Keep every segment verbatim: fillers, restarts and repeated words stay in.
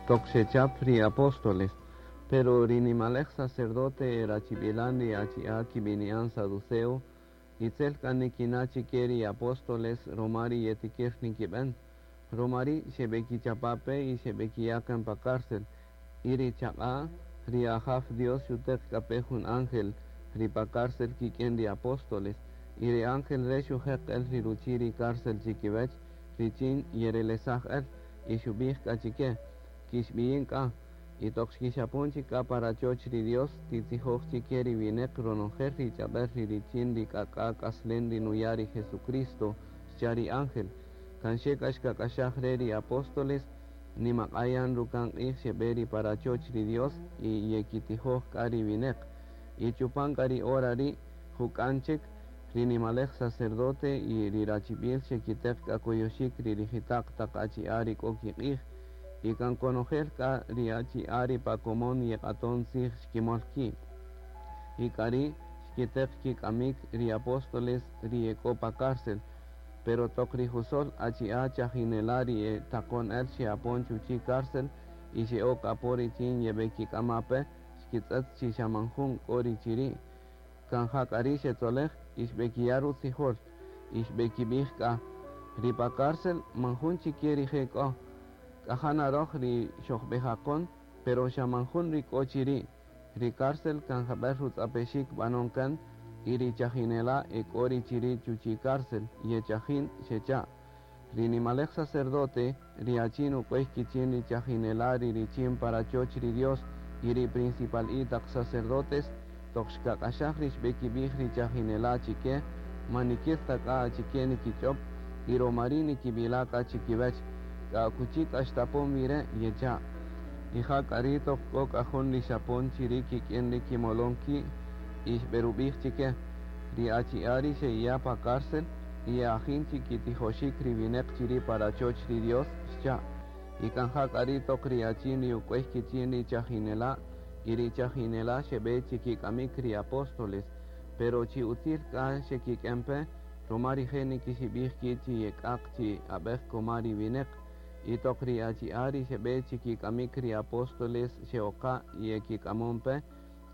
Toq xechap ri apóstoles. Pero ri nimalej sacerdote rachibilan ri achi'a' kibini'an saduceo, itzel k'a nikina' chike ri apóstoles roma ri yetikir nikiben. Roma ri' xebekichapa-pe y xebekiya' kan pa cárcel. Y ri chaq'a' ri Ajaw Dios xuteq k'a pe jun ángel ri pa cárcel kik'in ri apóstoles. Y ri ángel re' xujeq el ri ruchi' ri cárcel chikiwech, richin yerelesaj el, y xubij k'a chike, kixbiyin k'a. Y toq xkixapon chik k'a pa rachoch ri Dios, titzijoj chike ri wineq ronojel ri ch'ab'äl ri richin ri k'ak'a k'aslen ri nuya' ri Jesucristo, xcha' ri ángel. Kan xe k'a xkak'axaj re ri apóstoles, nimaq'ayan ruka'n q'ij xeb'e ri pa rachoch ri Dios y yekitijoj k'a ri wineq. Y chupan k'a ri hora ri' juk'an chik, ri nimalej sacerdote y ri rachib'il xekiteq k'a koyoxik ri rijita'q taq achi'a' ri k'o kiq'ij. Y kan konojel k'a ri achi'a' ri pa komon yeq'aton tzij xkimol ki'. Y k'ari' xkiteq kik'amik ri apóstoles ri ek'o pa cárcel. Pero toq ri jusol achi'a' chajinela' ri e taqon el xe'apon chuchi' cárcel y xe'ok apo richin yeb'ekik'ama' pe, xkitz'ët chi xa man jun k'o ri chiri'. Kan ja k'a ri' xetzolej y xb'ekiya' rutzijol y xb'ekib'ij k'a ri pa cárcel man jun chike rije' k'o. K'a ja na roj ri xojb'ejaqon, pero xa man jun ri k'o chiri'. Ri cárcel kan jab'el rutz'apexik b'anon kan y ri chajinela' e k'o ri chiri' chuchi' cárcel yechajin xecha'. Ri nimalej sacerdote, ri achin uk'uey kichin ri chajinela' ri richin pa rachoch ri Dios y ri principal taq sacerdotes, toq xkak'axaj ri xb'ekib'ij ri chajinela' chike, man nikil ta k'a achike nikich'ob' y roma ri' nikib'ila' k'a chikiwech, k'a akuchi k'a xtapon wi re' yecha'. Y ja k'a ri' toq k'o k'a jun ri xapon chiri' kik'in ri kimolon ki' y xb'erub'ij chike, ri achi'a' ri xe'iya' pa cárcel y ye'ajin chikitijoxik ri wineq chiri' pa rachoch ri Dios, xcha'. Y kan ja k'a ri' toq ri achin ri uk'uey kichin ri chajinela' y ri chajinela' xeb'e chikik'amik ri apóstoles, pero chi utzil k'a xekik'en pe, roma rije' nikixib'ij ki' chi yek'aq chi ab'ej koma ri wineq. Y toq ri achi'a' ri xeb'e chikik'amik ri apóstoles xe'oqa' y yekik'amon pe,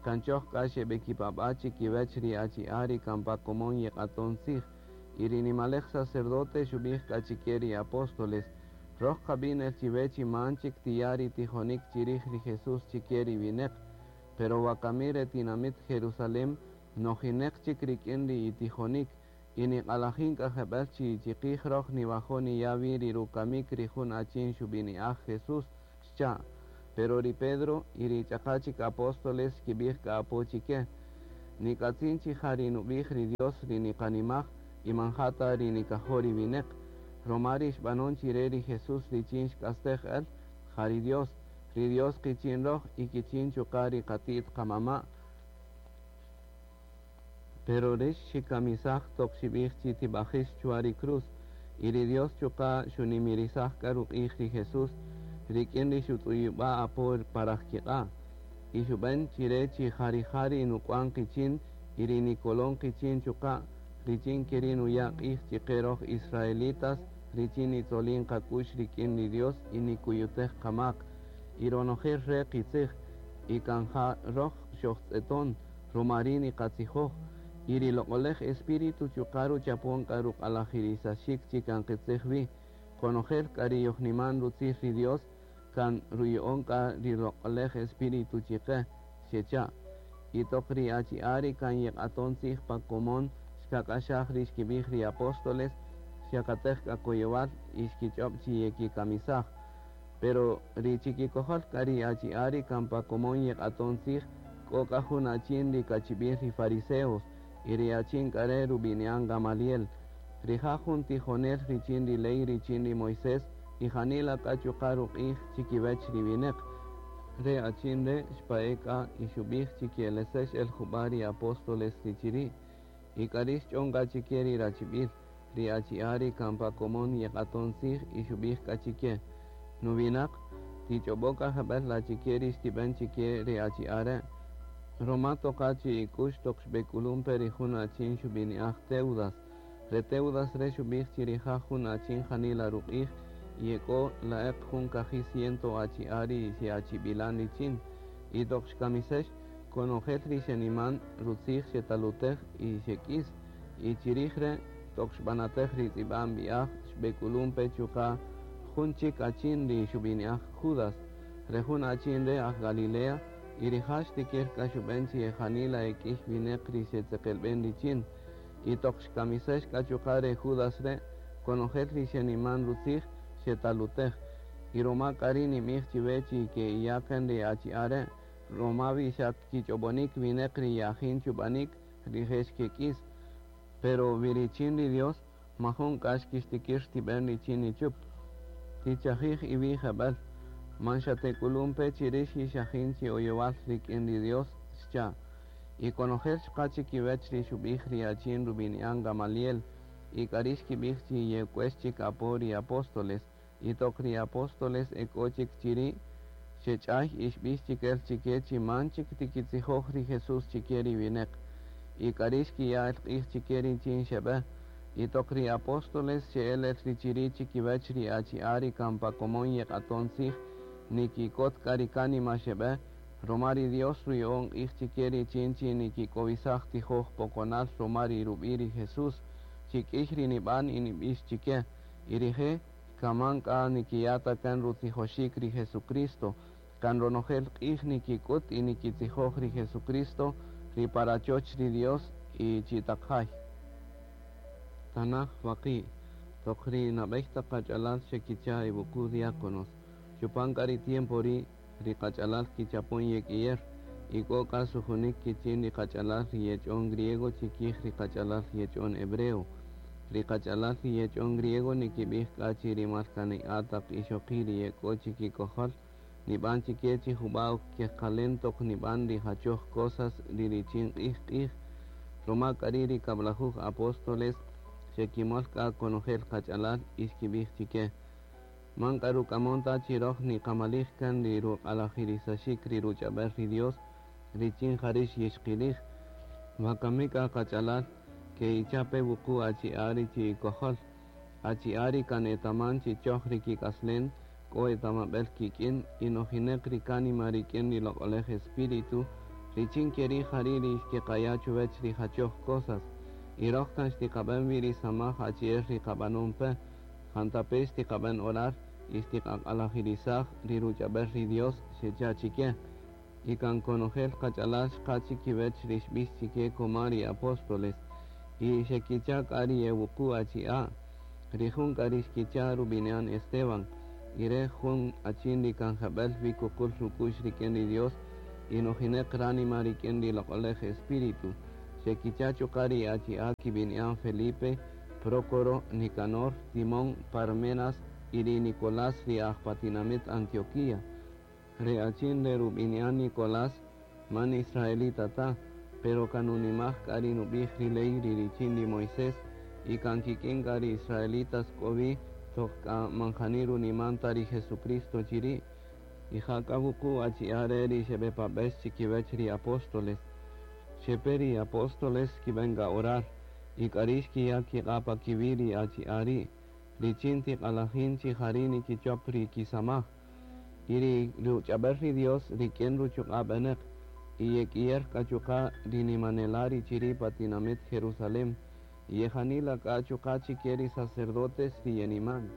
kan choj k'a xeb'ekipab'a' chikiwech ri achi'a' ri kan pa komon yeq'aton tzij. Y ri nimalej sacerdote xub'ij k'a chike ri apóstoles, roj qab'in el chiwe chi man chik tiya' ri tijonik chirij ri Jesús chike ri wineq. Pero wakami re tinamit Jerusalem nojineq chik rik'in ri itijonik y niq'alajin k'a jeb'ël chi chiqij roj niwajo' niya' wi ri rukamik ri jun achin xub'ini'aj Jesús, xcha'. Pero ri Pedro y ri ch'aqa chik apóstoles xkib'ij k'a apo chike, nik'atzin chi ja ri nub'ij ri Dios ri niqanimaj y man ja ta ri nikajo' ri wineq. Roma ri xb'anon chire ri Jesús richin xk'astej el, ja ri Dios, ri Dios kichin roj y kichin chuqa' ri qati't qamama'. Pero rix xikamisaj toq xib'ij chi tib'ajix chwa ri cruz, y ri Dios chuqa' xunimirisaj k'a ruq'ij ri Jesús, rik'in ri xutz'uyub'a' apo pa rajkiq'a'. Y xub'en chire chi ja rija' ri nuk'wan qichin y ri nikolon qichin chuqa', richin keri' nuya' q'ij chiqe roj israelitas, richin nitzolin qak'u'x rik'in ri Dios y nikuyutej qamak. Y ronojel re' qitzij, y kan ja roj xojtz'eton, roma ri' niqatzijoj, y ri loq'olej Espíritu chuqa' ruchapon k'a ruq'alajirisaxik chi kan qitzij wi. Konojel k'a ri yojniman rutzij ri Dios, kan ruya'on k'a ri loq'olej Espíritu chiqe, xecha'. Y toq ri achi'a' ri kan yeq'aton tzij pa komon, xkak'axaj ri xkib'ij ri apóstoles, xyakatej k'a koyowal y xkich'ob' chi yekikamisaj. Pero ri chikikojol k'a ri achi'a' ri kan pa komon yeq'aton tzij, k'o k'a jun achin ri kachib'il ri fariseos, y ri achin k'a re' rub'ini'an Gamaliel. Rija' jun tijonel richin ri ley richin ri Moisés, y janila k'a chuqa' ruq'ij chikiwech ri wineq. Re achin re' xpa'e' k'a y xub'ij chi ki'elesex el jub'a' ri apóstoles ri chiri'. Y k'ari' xch'on k'a chike ri rachib'il, ri achi'a' ri kan pa komon yeq'aton tzij y xub'ij k'a chike, nuwinaq, tich'ob'o k'a jeb'ël achike ri xtib'en chike ri achi'a' re'. Roma toqa chi ik'ux toq xb'ek'ulun pe ri jun achin xub'ini'aj Teudas. Re Teudas re xub'ij chi rija' jun achin janila ruq'ij Y ek'o la'eq jun kaji' ciento achi'a' ri xe'achib'ilan richin. Y toq xkamisex, konojel ri xeniman rutzij xetalutej y xek'is. Y chirij re' toq xb'anatej ri tz'ib'an b'i'aj xb'ek'ulun pe chuqa' jun chik achin ri xub'ini'aj Judas. Re jun achin re' aj Galilea y rija' xtikir k'a xub'en chi janila ek'ïy wineq ri xetzeqelb'en richin. Y toq xkamisex k'a chuqa' re Judas re' konojel ri xeniman rutzij xetalutej. Y roma k'a ri' nimij chiwe chi ke'iyaken ri achi'a' re' roma wi xa kich'ob'onik wineq ri yajin chub'anik rije' xkek'is. Pero wi richin ri Dios majun k'a xkixtikir xtib'en richin nichup. Tichajij iwi' jeb'ël, man xa tek'ulun pe chi rix yixajin chi oyowal rik'in ri Dios, xcha'. Y konojel xqa chikiwech ri xub'ij ri achin rub'ini'an Gamaliel, y k'a ri' xkib'ij chi yek'uex chik apo ri apóstoles, y toq ri apóstoles ek'o chik chiri', xech'ay y xb'ix chik el chike chi man chik tikitzijoj ri Jesús chike ri wineq. Y k'a ri' xkiya' el q'ij chike richin xeb'e. Y toq ri apóstoles xe'el el ri chiri' chikiwech ri achi'a' ri kan pa komon yeq'aton tzij, nikikot k'a ri kánima xeb'e, roma ri Dios ruya'on q'ij chike richin chi nikik'owisaj tijoj poqonal roma ri rub'i' ri Jesús, chi k'ïy ri nib'an y nib'ix chike. Y rije' kaman k'a nikiya' ta kan rutzijoxik ri Jesucristo, kan ronojel q'ij nikik'ut y nikitzijoj ri Jesucristo ri pa rachoch ri Dios y chi taq jay. Tanaj waqi', toq ri nab'ey taq qach'alal xekicha' iwuqu' diáconos. Chupan k'a ri tiempo ri' ri qach'alal kichapon yek'iyer, y k'o k'a sujunik kichin ri qach'alal ri yech'on griego chikij ri qach'alal yech'on hebreo. Ri qach'alal ri yech'on griego nikib'ij k'a chi ri malkani'a' taq ixoqi' ri yek'o chikikojol, nib'an chike chi jub'a' kejqalen toq nib'an ri jachoj cosas ri richin q'ij q'ij. Roma k'a ri' ri kab'lajuj apóstoles xekimol k'a konojel qach'alal y xkib'ij chike. Man k'a ruk'amon ta chi roj niqamalij kan ri ruq'alajirisaxik ri ruch'ab'el ri Dios richin jarix yixqilij. Wakami k'a qach'alal ke'icha' pe wuqu' achi'a' ri chi'ikojol. Achi'a' ri kan etaman chi choj ri kik'aslen, k'o etamab'el kik'in y nojineq ri kánima rik'in ri loq'olej Espíritu, richin keri' jari' ri xkeqaya' chuwech ri jachoj cosas. Y roj kan xtiqab'en wi ri samaj achi'el ri qab'anon pe, jantape' xtiqab'en orar y xtiqaq'alajirisaj ri ruch'ab'el ri Dios xecha' chike. Y kan konojel qach'alal xqa chikiwech ri xb'ix chike koma ri apóstoles. Y xekicha' k'a ri ewuqu' achi'a'. Ri jun k'a ri xkicha' rub'ini'an Esteban, y re' jun achin ri kan jeb'ël wi kuqul ruk'u'x rik'in ri Dios y nojineq ránima rik'in ri loq'olej Espíritu. Xekicha' chuqa' ri achi'a' kib'ini'an Felipe, Prócoro, Nicanor, Timón, Parmenas y ri Nicolás ri aj pa tinamit Antioquía. Re achin re rub'ini'an Nicolás man israelita ta, pero kan nunimaj k'a ri nub'ij ri ley ri richin ri Moisés y kan kik'in k'a ri israelitas k'o wi toq k'a man jani runiman ta ri Jesucristo chiri'. Y ja k'a wuqu' achi'a' re' ri xeb'epab'ex chikiwech ri apóstoles. Xepe ri apóstoles xkib'en k'a orar, y k'a ri' xkiya' kiq'a' pa kiwi' ri achi'a' ri', richin tiq'alajin chi jari' nikichop ri kisamaj. Y ri ruch'ab'el ri Dios rik'in ruchuq'a' b'eneq, y yek'iyer k'a chuqa' ri nimanela' ri chiri' pa tinamit Jerusalén, y yejanila k'a chuqa' chike ri sacerdotes ri yeniman.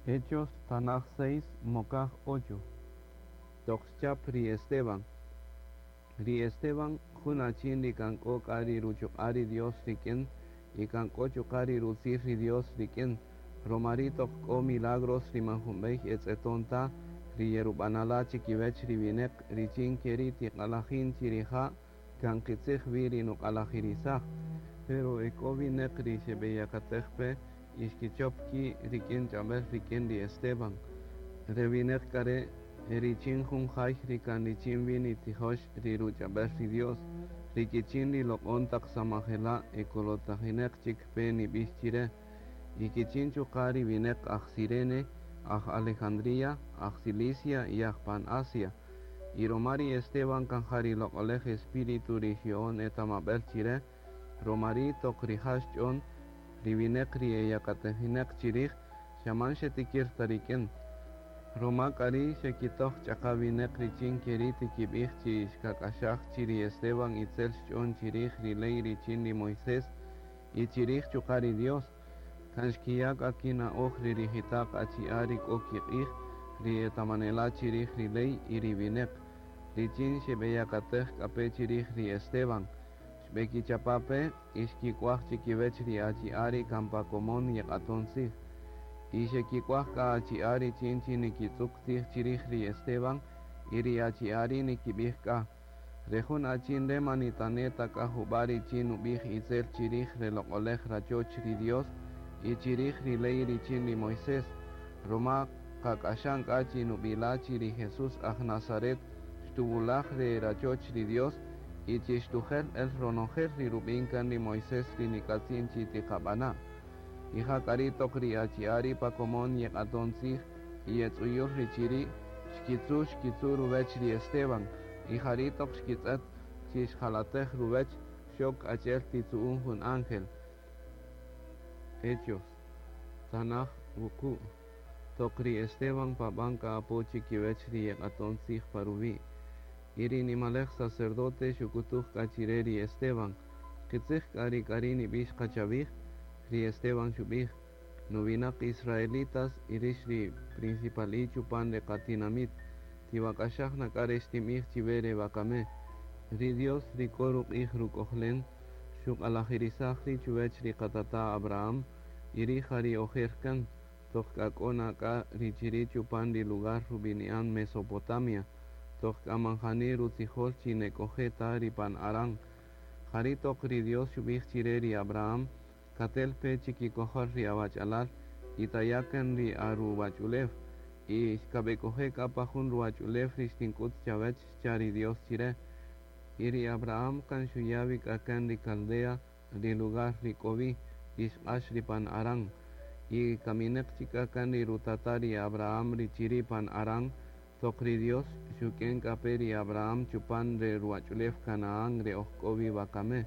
Hechos Tanaj seis, Mokaj ocho. Toq xchap ri Esteban. Ri Esteban jun achin ri kan k'o k'a ri ruchuq'a' ri Dios rik'in y kan k'o chuqa' ri rutzij ri Dios rik'in. Roma ri' toq k'o milagros ri man junb'ey etz'eton ta ri yerub'anala' chikiwech ri wineq richin keri' tiq'alajin chi rija' kan qitzij wi ri nuq'alajirisaj. Pero ek'o wineq ri xeb'eyakatej pe y xkichop ki' rik'in ch'ab'el rik'in ri Esteban. Re wineq k'a re' richin jun jay ri kan richin wi nitzijox ri ruch'ab'el ri Dios, ri kichin ri loq'on taq samajela' ekolotajineq chik pe nib'ix chire. Y kichin chuqa' ri wineq aj Cirene, aj Alejandría, aj Cilicia y aj pan Asia. Y roma ri Esteban kan ja ri loq'olej Espíritu ri xya'on etamab'el chire, roma ri' toq rija' xch'on Ri wineq ri eyakatejineq chirij xa man xetikir ta rik'in. Roma k'a ri' xekitoj ch'aqa wineq richin keri' tikib'ij chi xkak'axaj chi ri Esteban itzel xch'on chirij ri ley richin ri Moisés y chirij chuqa' ri Dios. Kan xkiya' k'a kina'oj ri rijita'q achi'a' ri k'o kiq'ij, ri etamanela' chirij ri ley y ri wineq. Richin xeb'eyakatej k'a pe chirij ri Esteban. Xb'ekichapa' pe y xkik'uaj chikiwech ri achi'a' ri kan pa komon yeq'aton tzij. Y xekik'uaj k'a achi'a' richin chi nikitz'uk tzij chirij ri Esteban y ri achi'a' ri' nikib'ij k'a. Re jun achin re' man nitane' ta k'a jub'a' richin nub'ij itzel chirij re loq'olej rachoch ri Dios y chirij ri ley richin ri Moisés. Roma qak'axan k'a chi nub'ila' chi ri Jesús aj Nazaret xtuwulaj re rachoch ri Dios y chi xtujel el ronojel ri rub'in kan ri Moisés ri nik'atzin chi tiqab'ana'. Y ja k'a ri' toq ri achi'a' ri' pa komon yeq'aton tzij y yetz'uyul ri chiri' xkitzu' xkitzu' ruwech ri Esteban y ja ri' toq xkitz'et chi xjalatej ruwech xok achi'el titzu'un jun ángel. Hechos. Tanaj wuqu'. Toq ri Esteban pab'an k'a apo chikiwech ri yeq'aton tzij pa ruwi'. Y ri nimalej sacerdote xuk'utuj k'a chire ri Esteban. Qitzij k'a ri k'a ri' nib'ix qa chawij, ri Esteban xub'ij, nuwinaq israelitas y rix ri principali chupan re qatinamit, tiwak'axaj na k'a re xtinb'ij chiwe re wakame. Ri Dios ri k'o ruq'ij ruk'ojlen, xuq'alajirisaj ri' chuwech ri qatata' Abraham, y ri' ja ri ojer kan, toq k'a k'o na k'a ri chiri' chupan ri lugar rub'ini'an Mesopotamia, toq k'a man jani rutzijol chi nek'oje' ta ri pan Harán. Ja ri' toq ri Dios xub'ij chire ri Abraham, katel pe chikikojol ri awach'alal y taya' kan ri aruwach'ulew y xkab'ek'oje' k'a pa jun ruwach'ulew ri xtink'ut chawech xcha' ri Dios chire. Y ri Abraham kan xuya' wi k'a kan ri Caldea, ri lugar ri k'o wi, y xq'ax ri pan Harán. Y kamineq chik k'a kan ri rutata' ri Abraham ri chiri' pan Harán, toq ri Dios xuk'en k'a pe ri Abraham chupan re ruwach'ulew Canaán re oj k'o wi wakame.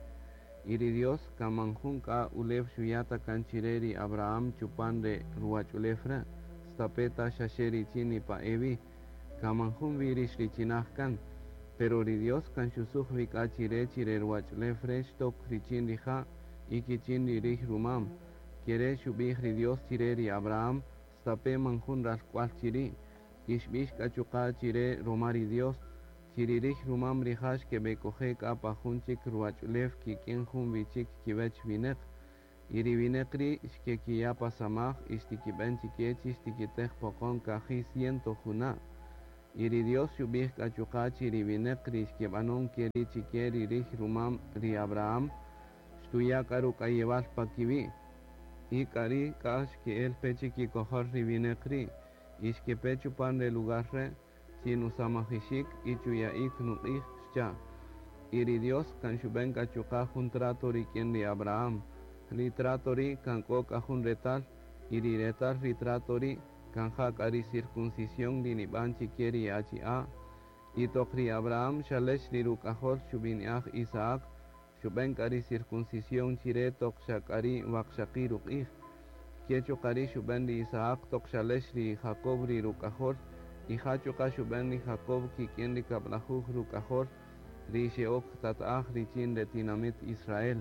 Y ri Dios kan man jun k'a ulew xuya' ta kan chire ri Abraham chupan re ruwach'ulew re', stape' ta xaxe richin nipa'e wi, kan man jun wi ri xrichinaj kan. Pero ri Dios kan xusuj wi k'a chire chi re ruwach'ulew re' xtok richin rija' y kichin ri rij rumam. Kere' xub'ij ri Dios chire ri Abraham, stape' man jun ralk'ual chiri', y xb'ix k'a chuqa' chire roma ri Dios, chi ri rij rumam rija' xkeb'ek'oje' k'a pa jun chik ruwach'ulew kik'in jun wi chik kiwech wineq. Y ri wineq ri' xkekiya' pa samaj y xtikib'en chike chi xtikitej poqon kaji' ciento juna'. Y ri Dios xub'ij k'a chuqa' chi ri wineq ri xkeb'anon keri' chike ri rij rumam ri Abraham, xtuya' k'a ruk'ayewal pa kiwi'. Y k'a ri' k'a xke'el pe chikikojol ri wineq ri', y xkepe chupan re lugar re', chi nusamajixik y chuya'ik nuq'ij xcha'. Y ri Dios kan xub'en k'a chuqa' jun trato rik'in ri Abraham. Ri trato ri' kan k'o k'a jun retal, y ri retal ri trato ri' kan ja k'a ri circuncisión ri nib'an chike ri achi'a'. Y toq ri Abraham xalex ri ruk'ajol xub'ini'aj Isaac, xub'en k'a ri circuncisión chire toq xa k'a ri' waqxaqi' ruq'ij. Ke chuqa' ri' xub'en ri Isaac toq xalex ri Jacob ri ruk'ajol, y ja chuqa' xub'en ri Jacob kik'in ri kab'lajuj ruk'ajol, ri xe'ok tata'aj richin re tinamit Israel.